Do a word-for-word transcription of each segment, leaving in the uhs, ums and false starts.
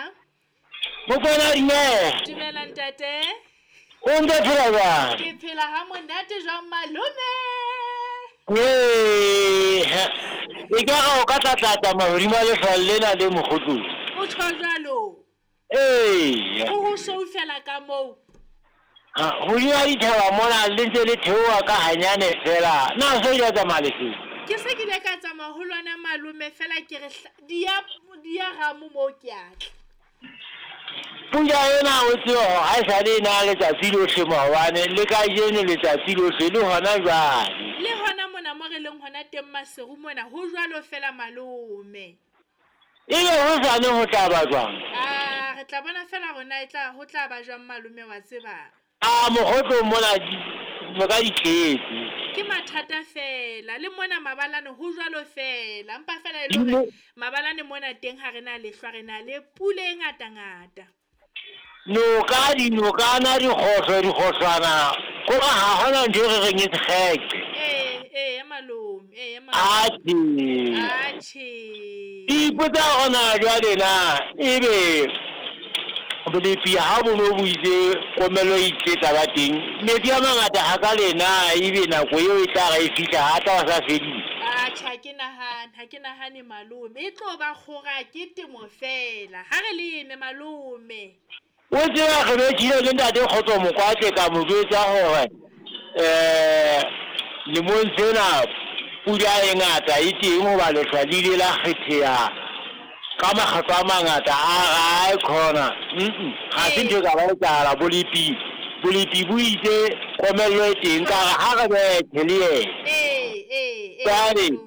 Dumela. Mokoena dumela. Dumela ntate. O ntse phela jwang? Ke phela ha monate jwang malome? Ee, e ka re o ka tlatlatsa mahodimo a lehlwa lena le mokgotlong. O tjho jwalo. Ee. Ho ho soufela ka moo. Ha, hodima dithaba mona le ntse le theoha ka hanyane fela. Na se ile tsamaya lefeng? Ke se ke ile ka tsamaya ho lona malome fela ke re di ya di ya ramo moo ke a tla. Pula ena o tsebe hore ha esale e na letsatsi lohle maobane le kajeno letsatsi lohle le hona jwale. Le hona mona mo re leng hona teng Maseru mona ho jwalo fela malome. Ebe hosane ho tla ba jwang? Ah, re tla bona fela rona e tla ho tla ba jwang malome wa tseba. Ah, mokgotlong mona noka di tletse. Ke mathata fela le mona mabalane ho jwalo fela empa fela e le hore mabalane mona teng ha re na lehlwa re na le pula e ngata ngata. Noka dinokana dikgohlo dikgohlwana ko ha hona ntho e re reng e sekgeke. Ee, ee malome, ee malome. Atjhe. Atjhe. Ke ipotsa hore na jwale na ebe bolepi ha bo no bo itse komello e itse tla ba teng metsi a mangata ha ka lena ebe nako eo e tla re e fihla ha tla ba sa fedile. Atjhe, ha ke nahane, ha ke nahane malome. E tlo ba kgora ke temo fela. Ha re leme malome. O tseba re bethile le ntate Kgotso Mokwatle ka mo jwetsa hore eh lemong sena pula e ngata e teng hoba lehlwa le ile la kgetheha ka makgetlo a mangata a ra e khona. Mm ha se ntho e ka ba etsahala bolepi bolepi bo itse komello e teng ka re ha re bethe le yena. Ee, ee, ee. Jwale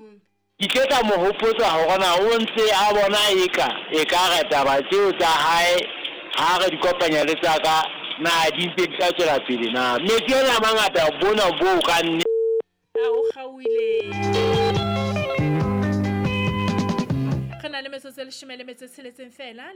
ke tle ka mo hopotsa hore na o ntse a bona eka e ka re taba tseo tsa hae ha re di kopanya le tsa ka na di ntse di tla tswela pele na. Metsi ana a mangata bona bo ka nne. A o kgaohile. Re na le metsotso e leshome le metso e tsheletseng fela.